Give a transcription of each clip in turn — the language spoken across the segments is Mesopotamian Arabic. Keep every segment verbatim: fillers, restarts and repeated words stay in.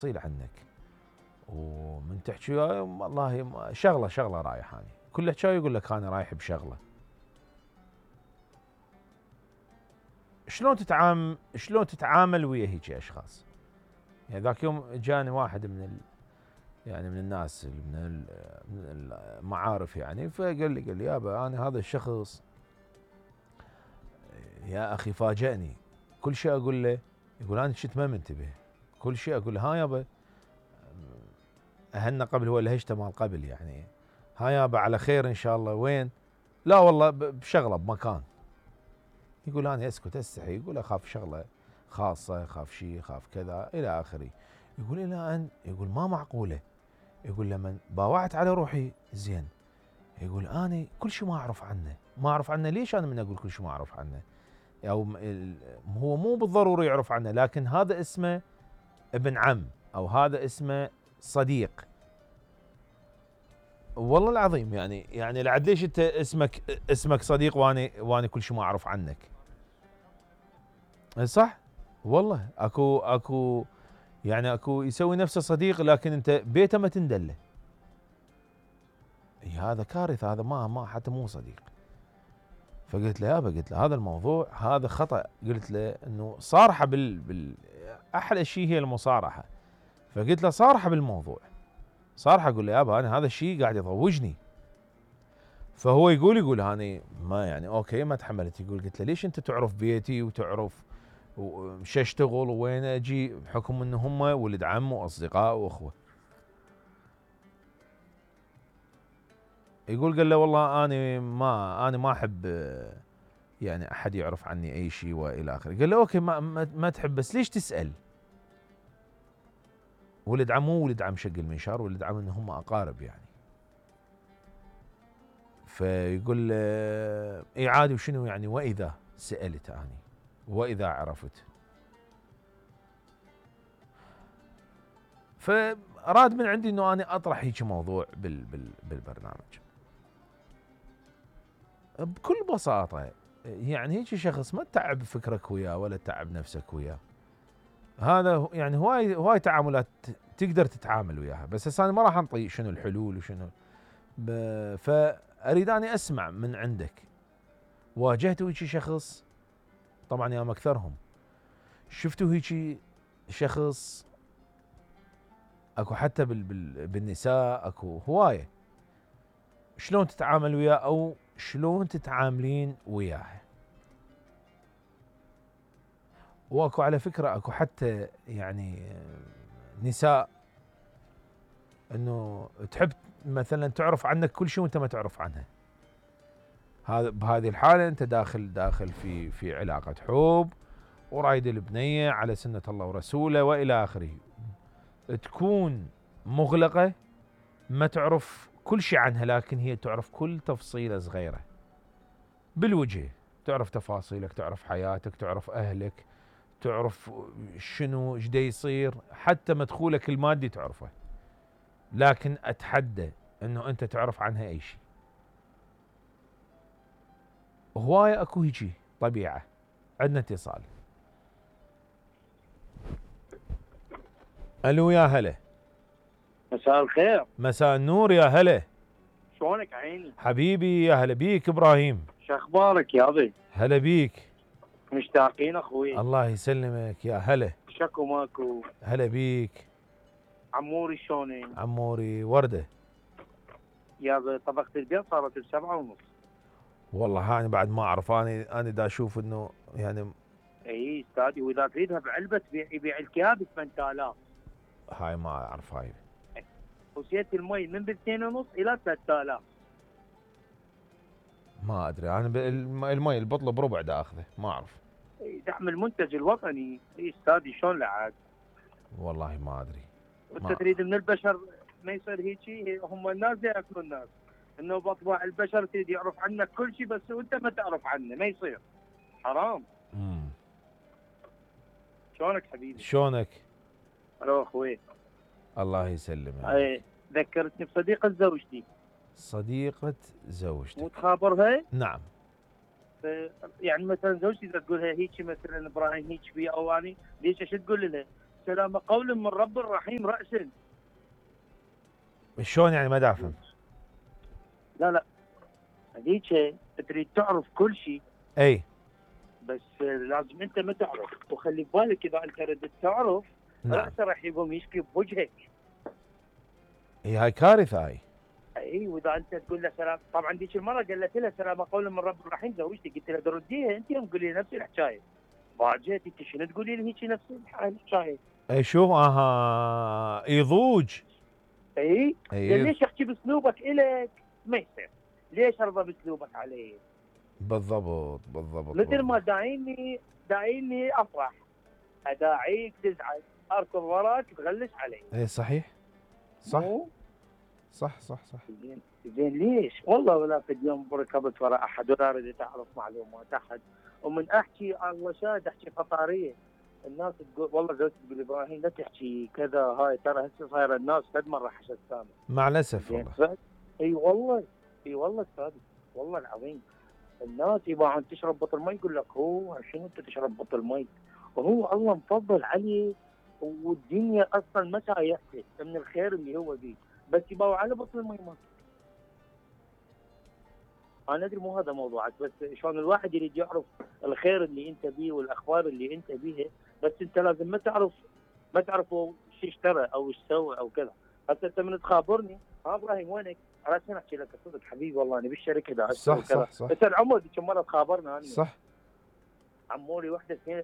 تفصيل عنك، ومن تحكي والله شغله شغله رايح اني، كل حكايه يقول لك انا رايح بشغله. شلون تتعامل شلون تتعامل ويا هيك اشخاص؟ يعني ذاك يوم جاني واحد من ال... يعني من الناس من, ال... من المعارف يعني، فقال لي قال لي يابا انا هذا الشخص يا اخي فاجأني، كل شيء اقول له يقول انا كنت ما منتبه، كل شيء اقول له ها يابا اهلنا قبل هو الهجته مال قبل يعني، ها يابا على خير ان شاء الله وين؟ لا والله بشغله بمكان. يقول انا اسكت استحي، يقول اخاف شغله خاصه، اخاف شيء، اخاف كذا الى اخره. يقول الى ان يقول ما معقوله، يقول لما باوعت على روحي زين، يقول اني كل شيء ما اعرف عنه، ما اعرف عنه ليش انا من اقول كل شيء ما اعرف عنه؟ او هو مو بالضروري يعرف عنه، لكن هذا اسمه ابن عم او هذا اسمه صديق. والله العظيم يعني يعني لعد ليش انت اسمك اسمك صديق واني واني كل شيء ما اعرف عنك؟ صح؟ والله اكو اكو يعني اكو يسوي نفسه صديق لكن انت بيته ما تندله. هذا كارثه، هذا ما ما حتى مو صديق. فقلت له يابا، قلت له هذا الموضوع هذا خطأ، قلت له انه صارحه بال, بال احلى شيء هي المصارحه. فقلت له صارحه بالموضوع، صارحه اقول له يابا انا هذا الشيء قاعد يضوجني. فهو يقول يقول هاني ما يعني اوكي ما تحملت. يقول قلت له ليش انت تعرف بيتي وتعرف وش اشتغل وين اجي بحكم ان هم ولد عم واصدقاء واخوه. يقول قال له والله انا ما انا ما احب يعني احد يعرف عني اي شيء والى اخره. قال له اوكي ما, ما, ما تحب بس ليش تسال؟ ولد عم مو ولد عم شق المنشار، ولد عم ان هم اقارب يعني. فيقول له اي عادي وشنو يعني واذا سالت اني واذا عرفت. فاراد من عندي انه انا اطرح هيك موضوع بال بال بالبرنامج بكل بساطه. يعني هيك شخص ما تتعب فكرك وياه ولا تتعب نفسك وياه، هذا يعني هواي هواي تعاملات تقدر تتعامل وياها، بس هسه انا ما راح انطي شنو الحلول وشنو. فاريد اني اسمع من عندك، واجهتوا هيك شخص؟ طبعا يا اكثرهم شفتوا هيك شخص؟ اكو حتى بال بال بالنساء اكو هوايه. شلون تتعامل وياه او شلون تتعاملين وياه؟ واكو على فكره اكو حتى يعني نساء انه تحب مثلا تعرف عنك كل شيء وانت ما تعرف عنها. هذا بهذه الحاله انت داخل داخل في في علاقه حب ورايد البنيه على سنه الله ورسوله والى اخره. تكون مغلقه ما تعرف كل شيء عنها، لكن هي تعرف كل تفصيله صغيره بالوجه، تعرف تفاصيلك، تعرف حياتك، تعرف اهلك، تعرف شنو ايش دا يصير، حتى مدخولك المادي تعرفه. لكن اتحدى انه انت تعرف عنها اي شيء. هوايه اكو هيجي طبيعه. عندنا اتصال. الو يا هلا. مساء الخير. مساء النور يا هلا. شلونك عيني؟ حبيبي يا هلا بيك ابراهيم. شو اخبارك يا ابي؟ هلا بيك. مشتاقين اخوي. الله يسلمك يا هلا. شكو ماكو. هلا بيك. عموري شلونك؟ عموري ورده. يا ابي طبقة البيض صارت بسبعة ونص. والله هاني بعد ما اعرف، انا انا دا اشوف انه يعني اي استاذي، واذا تريدها بعلبه تبيع يبيع الكياب ب ثمانية آلاف. هاي ما اعرف هاي. وزيت المي من باثنين ونص الى ثلاثة آلاف. ما ادري انا المي البطله بربع دا اخذه، ما اعرف. دعم المنتج الوطني. اي استاذي شلون لعاد؟ والله ما ادري. وانت تريد من البشر ما يصير هيجي؟ هم الناس ياكلون الناس، انه بطبع البشر تريد يعرف عنك كل شيء بس وانت ما تعرف عنه، ما يصير، حرام. امم شلونك حبيبي؟ شلونك؟ الو اخوي. الله يسلمك. اي ذكرتني بصديقة زوجتي. صديقة زوجتك؟ مو تخابرها؟ نعم. يعني مثلا زوجتي اذا تقول لها هيك مثلا ابراهيم هيك بي او اني ليش ايش تقول لها؟ السلامة قول من رب الرحيم رأسا. شلون يعني؟ ما دا افهم. لا لا هذيك تريد تعرف كل شيء، اي بس لازم انت ما تعرف، وخلي بالك اذا انت ردت تعرف نعم. رأسه راح يقوم يشكي بوجهك. اي هاي كارثه هاي. اي واذا انت تقول له سلام، طبعا ذيك المره قالت لها سلام قولا من رب الرحيم زوجتي، قلت لها ترديها انت يوم تقولي نفس الحكايه، باجت انت شنو تقولي لي هيك نفس الحكايه؟ اي شوف اها يضوج. اي اي ليش احكي باسلوبك الك؟ ما يصير. ليش ارضى باسلوبك علي؟ بالضبط بالضبط. مثل ما بالضبط. داعيني داعيني افرح، اداعيك تزعل، اركض وراك تغلس علي. اي صحيح صح مو؟ صح صح صح. زين زين ليش؟ والله ولا قد يوم ركبت وراء احد ولا اريد اعرف معلومات احد، ومن احكي الله شاهد احكي قطاريه. الناس تقول والله زوجتي تقول ابراهيم لا تحكي كذا، هاي ترى هسه صايره الناس قد مره حشد سامع. مع الاسف زين والله. ف- اي والله اي والله استاذ، والله العظيم الناس يبغى تشرب بطل مي يقول لك هو شنو انت تشرب بطل مي؟ وهو الله مفضل عليه، والدنيا اصلا ما سايحته من الخير اللي هو بيه، بس يبغى على بطل المي ما. انا ادري مو هذا موضوعك، بس شلون الواحد يريد يعرف الخير اللي انت بيه والاخبار اللي انت بيها، بس انت لازم ما تعرف ما تعرف هو شو اشترى او ايش سوى او كذا. هسه انت من تخابرني ها ابراهيم وينك؟ عشان احكي لك الصدق حبيبي والله انا بالشركه دا صح وكذا. صح صح بس العمر ذيك مره تخابرنا انا صح. عموري وحده سنه،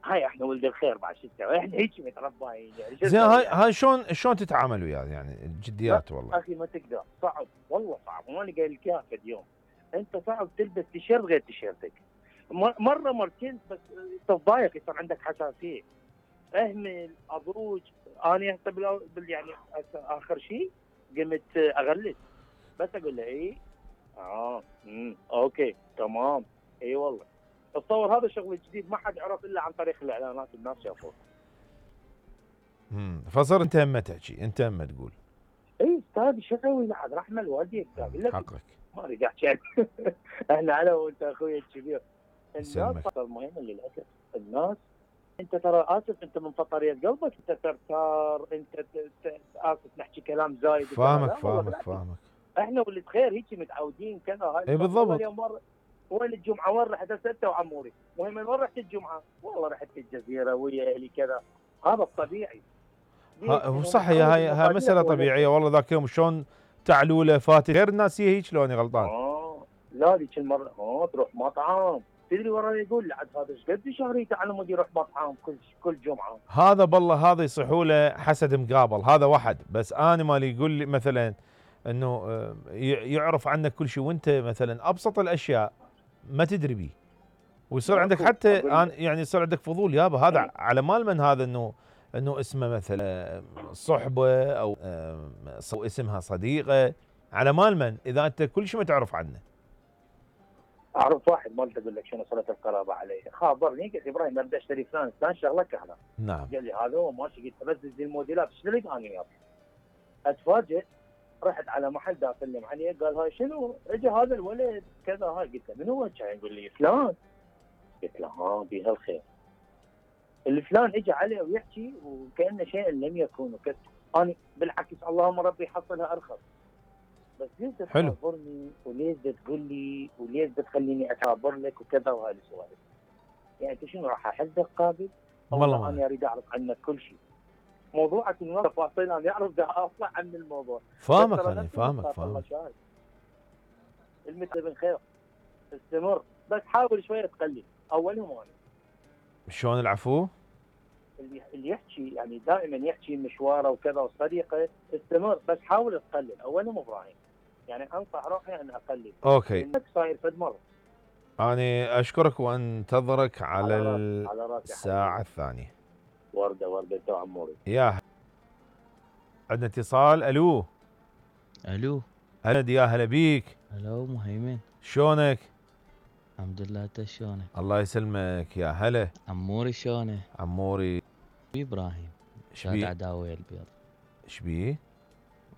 هاي احنا ولد الخير بعد شو نسوي؟ احنا هيك متربيين يعني شو زين نسوي هاي يعني؟ هاي شلون شلون تتعامل وياه يعني الجديات والله؟ اخي ما تقدر، صعب والله صعب، وانا قايل لك اياها فد يوم. انت صعب تلبس تيشيرت غير تيشيرتك، م- مره مرتين بس تتضايق يصير عندك حساسيه. اهمل اضوج. انا هسه بال بال- يعني هسه اخر شيء قمت اغلس، بس اقول له اي اه امم اوكي تمام اي والله. تصور هذا الشغل الجديد ما حد عرف الا عن طريق الاعلانات، الناس شافوه. امم فصار انت هم تحكي، انت هم تقول. اي استاذ شو اسوي؟ لحد رحمه الوالدي اقول لك حقك. ما اريد احكي عنه. احنا انا وانت اخوي الكبير. الناس يسلمك. صار مهمه للاسف. الناس انت ترى اسف، انت من فطريه قلبك انت ترتار، انت ت- ت- اسف نحكي كلام زايد وكذا. فاهمك لا والله فاهمك بالعكس. فاهمك. احنا ولد خير هيك متعودين كذا. هاي اي بالضبط. أول يوم مره وين الجمعه وين رحت ستة وعموري؟ المهم وين رحت الجمعه؟ والله رحت الجزيره ويا اهلي كذا. هذا الطبيعي. ها- هو صح، هي هاي هاي مسألة طبيعية والله. ذاك يوم شلون تعلوله فاتن غير الناس هي هيك، لو اني غلطان. اه لا ذيك المره اه تروح مطعم، تدري ورا يقول لعد هذا ايش قد شهر يتعلم يروح مطعم كل كل جمعه. هذا بالله هذا يصيحوا له حسد مقابل، هذا واحد. بس انا مالي يقول لي مثلا انه آه، ي- يعرف عنك كل شيء، وانت مثلا ابسط الاشياء ما تدري بيه، ويصير عندك ماكو. حتى أقول آن- يعني يصير عندك فضول يابا هذا إيه. على مال من هذا، انه انه اسمه مثلا آه، صحبه او آه، او اسمها صديقه، على مال من اذا انت كل شيء ما تعرف عنه. اعرف واحد ما اقول لك شنو صله القرابه علي، خابرني قال لي ابراهيم ابدا اشتري فلان فلان شغله كهذا. نعم. قال لي هذا هو ماشي، قلت له بس زي الموديلات اشتري انا وياك. اتفاجئ رحت على محل دا اسلم عليه، قال هاي شنو؟ اجى هذا الولد كذا هاي، قلت له من هو؟ كان يقول لي فلان. قلت له ها بها الخير. الفلان اجى عليه ويحكي وكانه شيء لم يكن، وكذا. انا بالعكس اللهم ربي حصلها ارخص. بس ليش حلو. تخابرني وليش تقول لي وليش تخليني اكابر لك وكذا وهاي السوالف؟ يعني انت شنو راح احدك قابل؟ والله انا اريد اعرف عنك كل شيء. موضوعك من تفاصيل انا اعرف ده اطلع عن الموضوع. فاهمك انا فاهمك فاهمك. المثل بن خير استمر، بس حاول شويه تقلل. اولهم انا شلون العفو؟ اللي اللي يحكي يعني دائما يحكي مشواره وكذا وصديقه، استمر بس حاول تقلل. اولهم ابراهيم يعني انصح روحي ان اقلل. اوكي. انك صاير فد مره. أنا أشكرك وأنتظرك على, على راسي على راسي الساعة حبيبي. الثانية. ورده ورده تو عموري. يا عندنا اتصال. ألو الو. هلا يا هلا بيك. الو مهيمن. شلونك؟ الحمد لله، انت شلونك؟ الله يسلمك. يا هلا عموري شلونه؟ عموري. ابراهيم شاد شبيه؟ عداوه يا البيض. شبيه؟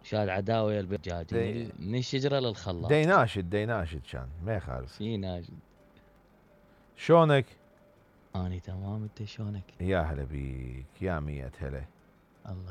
شاد عداوه يا البيض جاي دي- من الشجره للخلاط. ديناشد ديناشد كان ما يخالف. في ناجد. شلونك؟ اني تمام، انت شلونك؟ يا هلا بيك، يا مية هلا.